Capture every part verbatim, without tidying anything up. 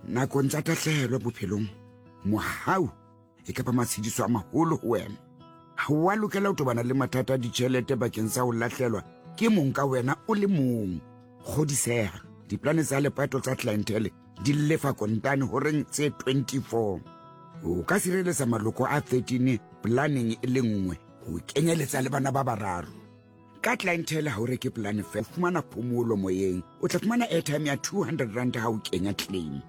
Nakong tsa tahlehelo bophelong, mohau e ka ba matshediso a maholo ho wena. Ha o a lokela ho tobana le mathata a ditjhelete bakeng sa ho lahlelwa ke mong ka wena o le mong. Kgodiseha, diplane tsa lepato tsa Clientele di lefa kontane horeng tse twenty-four. O ka sireletsa maloko a thirteen planeng e le nngwe ho kenyeletsa le bana ba bararo. Ka Clientele ha o reke plane feela, o fumana phomolo moyeng. O tla fumana airtime ya two hundred rand ha o kenya claim.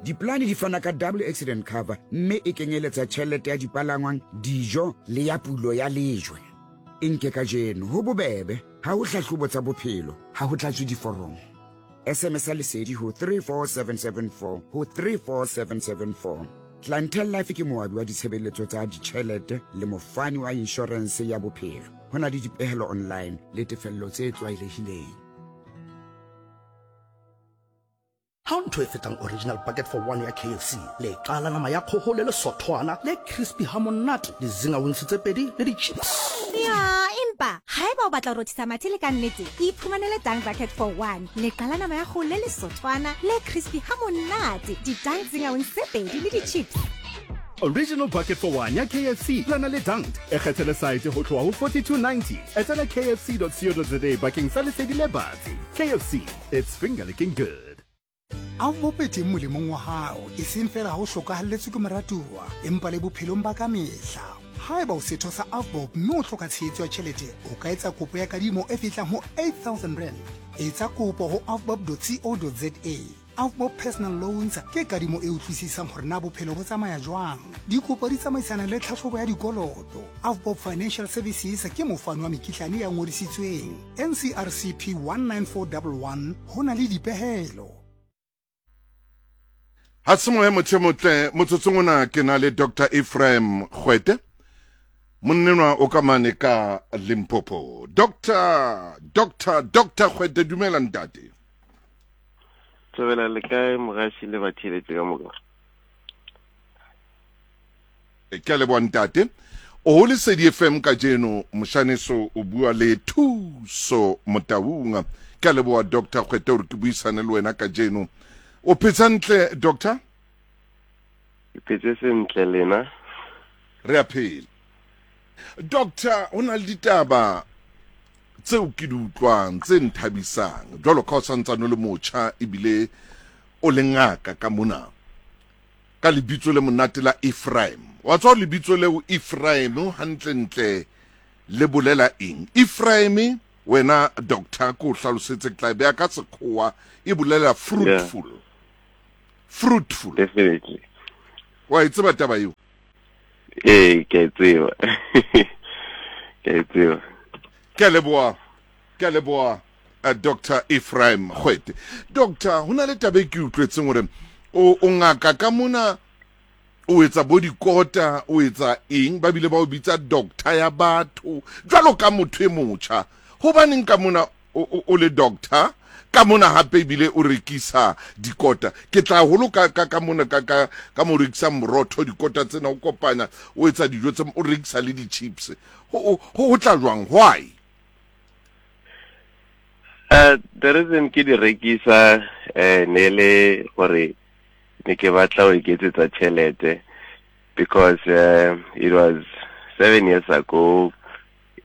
Diplane di fana ka double accident cover mme e kenyeletsa tjhelete ya dipalangwang, dijo le ya pulo ya lejwe. E nke kajeno ho bobebe, ha ho hlahlobo tsa bophelo, ha ho tlatswe diforomo. S M S ya lesedi ho three four seven seven four ho three four seven seven four. Clientele Life ke moabi wa ditshebeletso tsa ditjhelete le mofani wa inshorense ya bophelo. Ho na le dipehelo online le tefello tse tlwaelehileng. Ha ho ntho e fetang original bucket for one ya K F C. Le qala nama ya kgoho le lesothwana le crispy ha monate, le zinger wings tse pedi le di-chips. Ya, empa haeba o batla ho rothisa mathe le ka nnete, iphumanele Dunk Bucket for one. Le qala nama ya kgoho le lesothwana le crispy ha monate, di-Dunk Zinger Wings tse pedi le di-chips. Original Bucket for One ya K F C lana le Dunked. E kgethele site ho tloha ho forty-two ninety. Etela K F C dot co dot za bakeng sa lesedi le batsi. K F C, it's finger licking good. Avbob e teng molemong wa hao, e seng feela ha o hlokahalletswe ke moratuwa, empa le bophelong ba ka mehla. Haeba o setho sa Avbob mme o hloka tshehetso ya tjhelete, o ka etsa kopo ya kadimo e fihlang ho eight thousand rand. Etsa kopo ho avbob dot co dot za. Avbob Personal Loans ke kadimo e utlwisisang hore na bophelo bo tsamaya jwang. Dikopo di tsamaisana le tlhahlobo ya dikoloto. Avbob Financial Services ke mofani wa mekitlane ya ngodisitsweng. N C R C P one nine four one one ho na le dipehelo. Ha se moya motho e motle, motsotsong ona ke na le Doctor Ephraim Kgwete, monnenwa o ka mane ka Limpopo. Doctor, Doctor, Doctor Kgwete, dumela ntate. Thobela le kae mogashi le batheletsi ka moka? Ke a leboha ntate. O ho Lesedi F M kajeno, moshaneso o bua le Thuso Motaung. Ke a leboha Doctor Kgwete hore ke buisane le wena kajeno. O phetse hantle, Doctor? Ke phetse sentle lena. Re a phela. Doctor, ho na le ditaba tseo ke di utlwang tse nthabisang. Jwalo ka o santsane o le motjha ebile o le ngaka ka mona. Ka lebitso le monate la Ephraim. Wa tswa lebitso leo Ephraim hantlentle le bolela eng? Ephraim wena doctor ko hlalosetse ke tla beha ka sekgowa e bolela fruitful. Yeah. Fruitful. Definitely. Wa e tseba taba eo? Eh, ke e tseba. Ke e tseba. Ke a leboha. Ke a leboha, uh, Doctor Ephraim Kgwete. Doctor, ho na le taba e ke utlwetseng hore o, o ngaka ka mona, o etsa bo dikota, o etsa eng, ba bile ba o bitsa doctor ya batho jwalo ka motho e motjha. Hobaneng ka mona o, o, o le doctor, ka mona hape ebile o rekisa dikota? Ke tla holo ka, ka, ka mona ka, ka, ka mo rekisa morotho, dikota tsena o kopanya, o etsa dijo tse, o rekisa le di-chips. Ho, ho, ho tla jwang? Why? Uh, the reason ke di rekisa, eh, ne le gore ne ke batla ho iketsetsa tjhelete, because, uh, it was seven years ago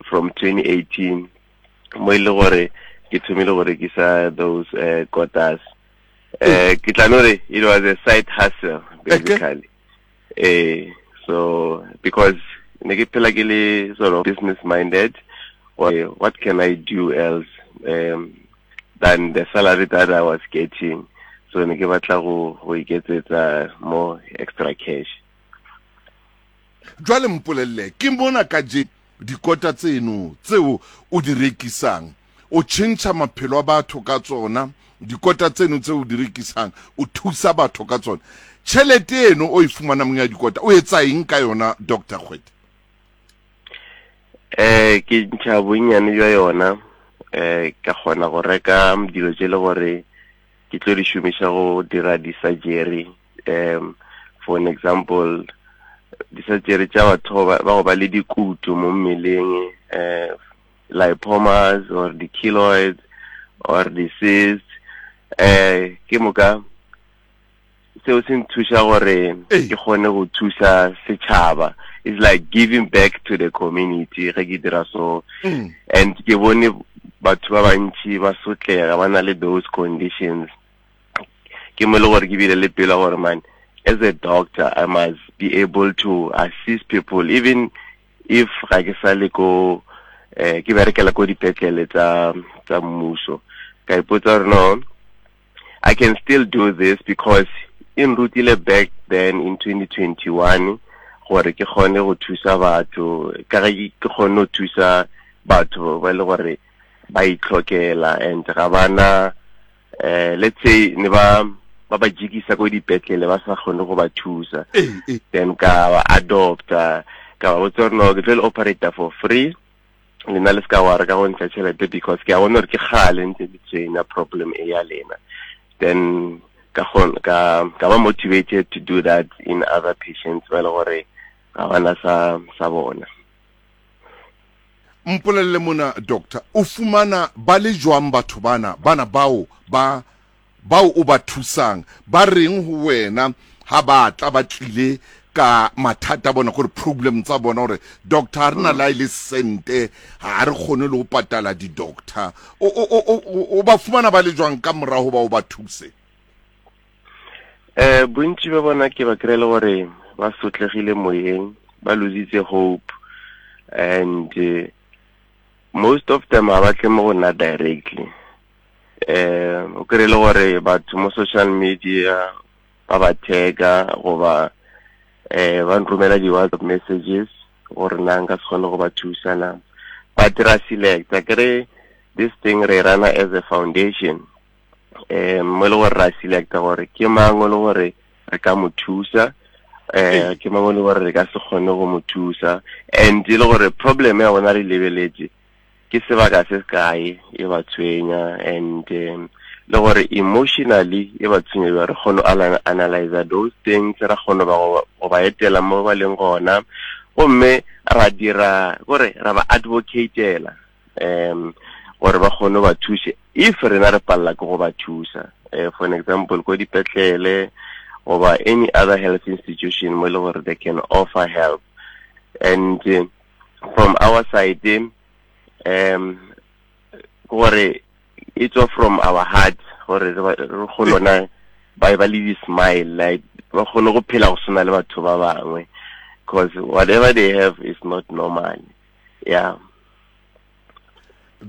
from twenty eighteen mo e le gore ke thomile go rekisa those, uh, kotas. Eh, ke tla no re it was a side hustle basically. Eh, so because ne ke phela ke le sort of business minded, what can I do else, um, than the salary that I was getting? So ne ke batla go, go iketsetsa more extra cash. Jwale mpolelle, ke mona ka je dikota tseno tseo o di rekisang, o tjhentjha maphelo a batho ka tsona, dikota tseno tseo o di rekisang o thusa batho ka tsona. Tjhelete eno o e fumanang ya dikota o etsa eng ka yona, Doctor Kgwete? Eh, ke ntšha bonnyane jwa yona, eh, ka kgona go reka dilo tse le gore ke tlo di šomiša go dira di-surgery. Um, for an example, di-surgery tša batho ba, ba go ba le dikutu mo mmeleng, eh, lipomas or di-keloids or di-cysts. Eh, ke moka seo se nthuša gore ke kgone go thusa setšhaba. It's like giving back to the community ge ke dira so. Mm. And ke bone batho ba bantši ba sotlega, ba na le those conditions. Ke mo le gore ke bile le pelo gore man, as a doctor I must be able to assist people, even if ga ke sa le ko eh ke berekela ko dipetlele tsa tsa mmuso. Ka ipotsa gore no, I can still do this because in rutile back then in twenty twenty-one gore ke kgone go thusa batho, ka ge ke kgone go thusa batho ba le gore ba itlhokela and ga bana eh let's say ne ba ba ba jikisa ko dipetlele ba sa kgone go ba thusa. Then ka ba adopta, ka ba botsa gore no, ke tlo le operator for free, lena le ska wa re ka go ntsha tšhelete because ke a bona gore ke kgale ntse ke tshwenya problem e ya lena. Then ka kgona ka ka ba motivated to do that in other patients ba le gore ga bana sa sa bona. Mpolelle mona doctor, o fumana ba le jwang batho bana bana bao ba bao o ba thusang, ba reng ho wena ha ba tla ba tlile ka mathata bona gore problem tsa bona hore doctor re na la ile sente ha re kgone le ho patala di doctor, o o o ba fumana ba le jwang ka morao ba o ba thuse? Eh bontsi ba bona ke ba krele gore ba sotlegile moyeng, ba lositse hope, and uh, most of them ha ba tle mo go nna directly. Eh o krele gore batho mo social media ba ba tag-a goba eh ba nromela di WhatsApp messages gore nna nka se kgone go ba thusa na. But ra select-a kere this thing re rana as a foundation, eh mo le gore ra select-a gore ke mang o le gore re ka mo thusa, eh ke mang o le gore re ka se kgone go mo thusa, and e le gore problem ya bona re lebeletse ke sebaka se kae e ba tshwenya, and um, le gore emotionally e ba tshwenya, re kgone go analyze those things, ra kgone ba go ba etela mo ba leng gona, gomme ra dira gore ra ba advocatela um gore ba kgone ba thuse if rena re palla ke go ba thusa. Uh, for an example, ko dipetlele goba any other health institution mo le gore they can offer help. And uh, from our side, um gore it's all from our heart gore re kgone ba ba le smile, like ba kgone go phela go swana le batho ba bangwe, because whatever they have is not normal. Yeah.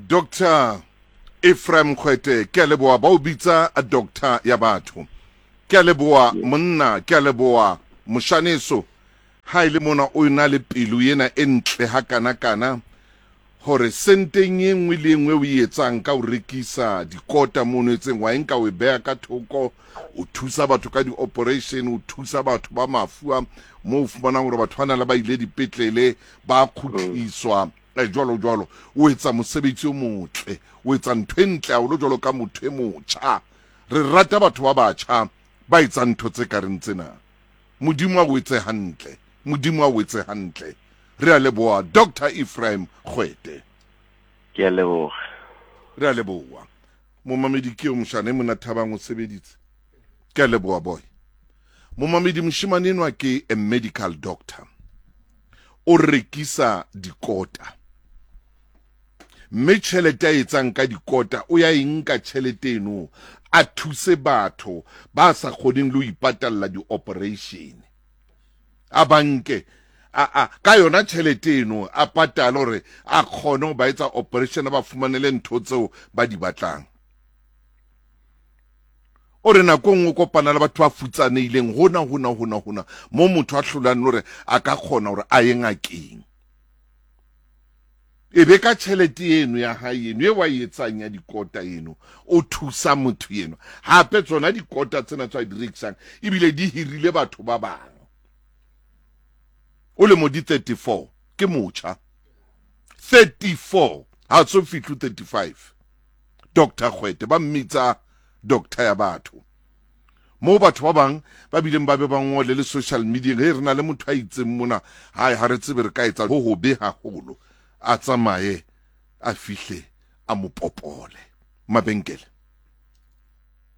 Doctor Ephraim Kgwete, ke a leboha, ba o bitsa a doctor ya batho. Ke a leboha monna, ke a leboha moshaneso. Ha ile mona o ena le pelo ena e ntle ha kana kana hore senteng e nngwe le nngwe o e etsang ka o rekisa dikota mono etseng wa enka o e beha ka thoko, o thusa batho ka di-operation, o thusa batho ba mafu a mo o fumanang hore batho bana le ba ile dipetlele ba kgutliswa jwalo jwalo. O etsa mosebetsi o motle, o etsa ntho e ntle haholo jwalo ka motho e motjha. Re rata batho ba batjha ba etsang ntho tse ka reng tsena. Modimo a o etse hantle, Modimo a o etse hantle. Re a leboha Doctor Ephraim Kgwete. Ke a leboha. Re a leboha. Momamedi ke o moshane mona Thabang o sebeditse. Ke a leboha boy. Momamedi moshimane enwa ke a medical doctor. O rekisa dikota. Mme tjhelete a etsang ka dikota o ya e nka tjhelete eno a thuse batho ba sa kgoneng le ho ipatalla di-operation. A banke a a ka yona tjhelete eno a patale hore a kgone ho ba etsa operation, ba fumanele ntho tseo ba di batlang. O re nako nngwe kopana le batho ba futsanehileng hona hona hona hona mo motho a hlolang hore a ka kgona hore a ye ngakeng. E be ka tjhelete eno ya hae eno e wa e etsang ya dikota eno o thusa motho eno. Hape tsona dikota tsena tsa di rekisang ebile di hirile batho ba bang. O lemo di thirty-four, ke motjha. thirty-four, ha so fihle thirty-five. Doctor Kgwete ba mmitsa doctor ya batho. Mo batho ba bang ba bileng ba be ba ngole le social media, he re na le motho a itseng mona, hai ha re tsebe re ka etsa ho hobe haholo. A tsamaye a fihle a mo popole mabenkele.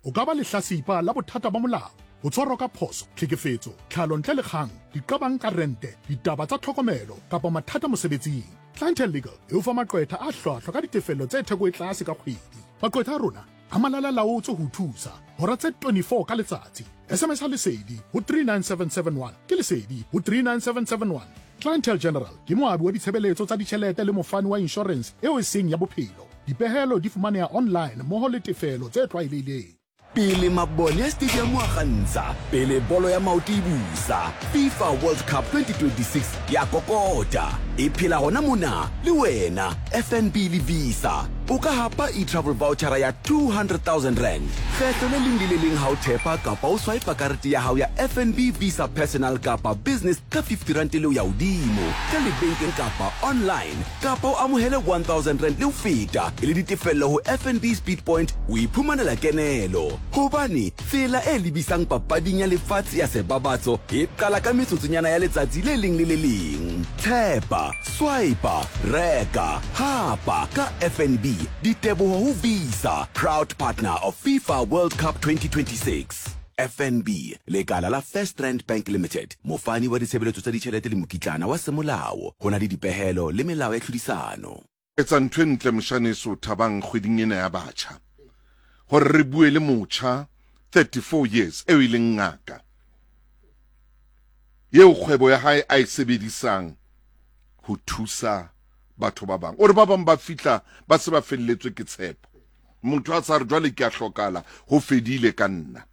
O ka ba lehlasipa la bothata ba molao. Ho tshwarwa ka phoso, tlhekefetso, tlhalo ntle le kgang, diqabang ka rente, ditaba tsa tlhokomelo kapa mathata mosebetsing. Clientele Legal e o fa maqwetha a hlwahlwa ka ditefello tse theko e tlase ka kgwedi. Maqwetha a rona a malala-laotswe ho thusa hora tse twenty-four ka letsatsi. S M S ha Lesedi ho three nine seven seven one ke Lesedi ho three nine seven seven one. Clientele General ke moabi wa ditshebeletso tsa ditjhelete le mofani wa insurance eo e seng ya bophelo. Dipehelo di fumaneha online mmoho le tefelo tse tlwaelehileng. Pele mabone a stadium a kgantsha, pele bolo ya maoto e busa, FIFA World Cup twenty twenty-six ya kokota. E phela hona mona le wena F N B le Visa. O ka hapa e-travel voucher ya two hundred thousand rand. Kgetho le leng le le leng ha o thepa kapa o swipe karete ya hao ya F N B Visa Personal kapa Business ka fifty rand le ho ya hodimo, ka lebenkeng kapa online, kapa o amohele one thousand rand le ho feta e le ditefello ho F N B Speed Point, o iphumanela kenelo. Hobane tsela e lebisang papading ya lefatshe ya sebabatso e qala ka metsotsonyana ya letsatsi le leng le le leng. Tshepa, swipe, reka, hapa ka F N B. Diteboho ho Visa, proud partner of FIFA World Cup twenty twenty-six. F N B, lekala la First Rand Bank Limited, mofani wa ditshebeletso tsa ditjhelete le mokitlana wa semolao. Ho na le dipehelo le melao ya tlhodisano. Etsa ntho e ntle moshaneso Thabang kgweding ena ya batjha. Hore re bue le motjha thirty-four years eo e leng ngaka. Eo kgwebo ya hae a e sebedisang ho thusa batho ba bang. O re ba bang ba fihla ba se ba felletswe ke tshepo. Motho a sa re jwale ke a hlokala, ho fedile ka nna.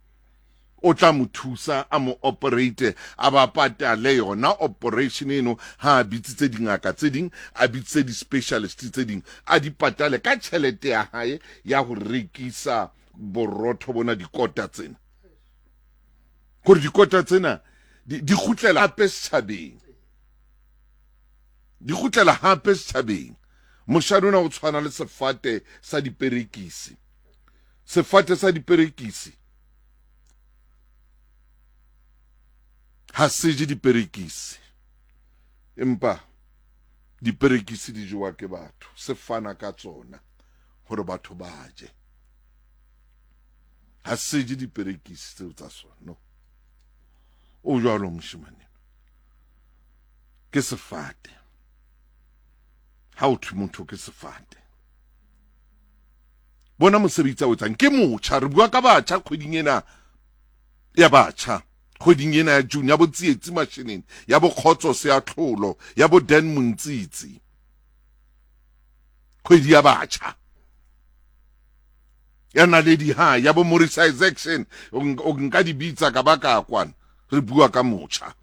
O tla mo thusa a mo operate, a ba patale yona operation eno, ha a bitsitse dingaka tse ding, a bitsitse di-specialist tse ding, a di patale ka tjhelete ya hae ya ho rekisa borotho bona dikota tsena. Hore dikota tsena di kgutlela hape setjhabeng. Di kgutlela hape setjhabeng. Moshana ona o tshwana le sefate sa diperekisi. Sefate sa diperekisi ha se je diperekisi, empa diperekisi di jewa ke batho. Se fana ka tsona hore batho ba je. Ha se je diperekisi tseo tsa sona. No. O jwalo moshemane. Ke sefate. Ha o thwe motho ke sefate. Bona mosebetsi a o etsang ke motjha. Re bua ka batjha kgweding ena ya batjha. Kgweding ena ya June ya bo Tsietsi Mashinini, ya bo Kgotso Seatlholo, ya bo Dan Montsitsi. Kgwedi ya batjha. Ya Naledi ha ya bo Morris Isaacson, o nka di bitsa ka baka kwana. Re bua ka motjha.